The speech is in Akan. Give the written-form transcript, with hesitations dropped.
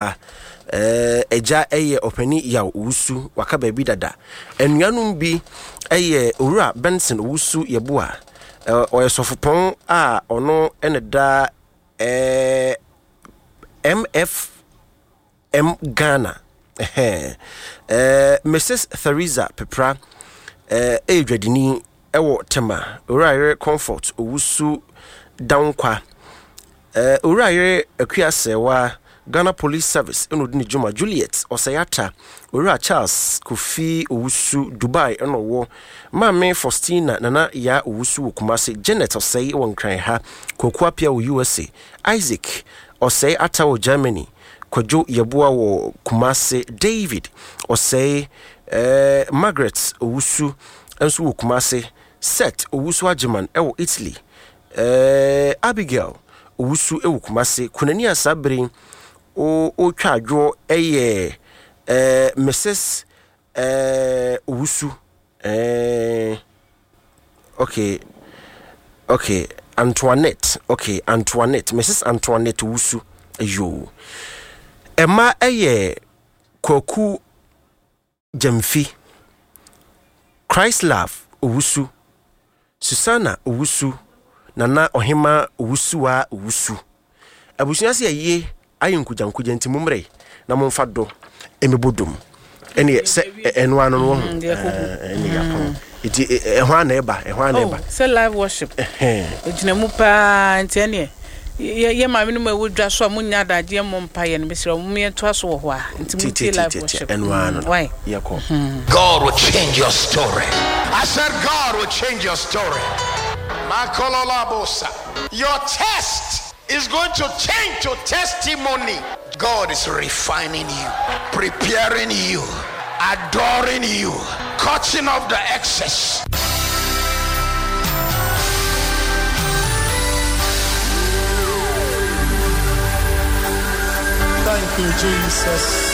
Agya yɛ Ɔpanin Yaw Owusu, waka baabi dada. Anuanom bi yɛ Owura Benson Owusu Yeboah, ɔyɛ sɔfopɔn a ɔno na da MFM Ghana. Mrs. Theresa Pepra yɛ dwadini wɔ Tema. Owura yere Comfort Owusu Dankwa. Owura yere Akua Serwaa, Ghana Police Service na ɔdi ne dwuma. Juliet Osei Atta, Owura Charles Kofi Owusu, Dubai na ɔwɔ. Maame Faustina Nana Yaa Owusu wɔ Kumasi. Janet Osei wɔ Nkran ha. Kwaku Appiah wɔ USA. Isaac Osei Atta wɔ Germany. Kwadwo Yeboah wɔ Kumasi. David Osei, Margaret Owusu nso wɔ Kumasi. Seth Owusu Agyeman wɔ Italy. Eh, Abigail Owusu wɔ Kumasi. Kunani a saa bere yi ɔretwa adwoɔ yɛ eh, Mrs. Eh, Owusu. Eh, okay, okay, Antoinette, okay, Antoinette, Mrs. Antoinette Owusu. Yoo. Ɛma ɛyɛ Kwaku Gyamfi, Christlove Owusu, Susanna Owusu, Nana Ɔhemaa Owusuaa Owusu. Abusua se ayie ayɛ nkugyankugya nti mommrɛ na momfa dɔ mmɛbɔ dom. Ɛneɛ sɛ ɛno ano no wɔho ɛne yɛapɔn nti ɛho ana ɛba ɛho ana ɛba. Sɛ live worship ɛgyina mu paa nti ɛneɛ Yɛ yɛ maame no mu ɛwɔ dwa so a mo nnya adagyeɛ mmɔ mpaeɛ no mesrɛ mo yɛntoa so wɔ hɔ a nti mo ntie live worship mm why. God will change your story. I said God will change your story. Makololabosa. Your test is going to change to testimony. God is refining you, preparing you, adoring you, cutting off the excess. Thank you, Jesus.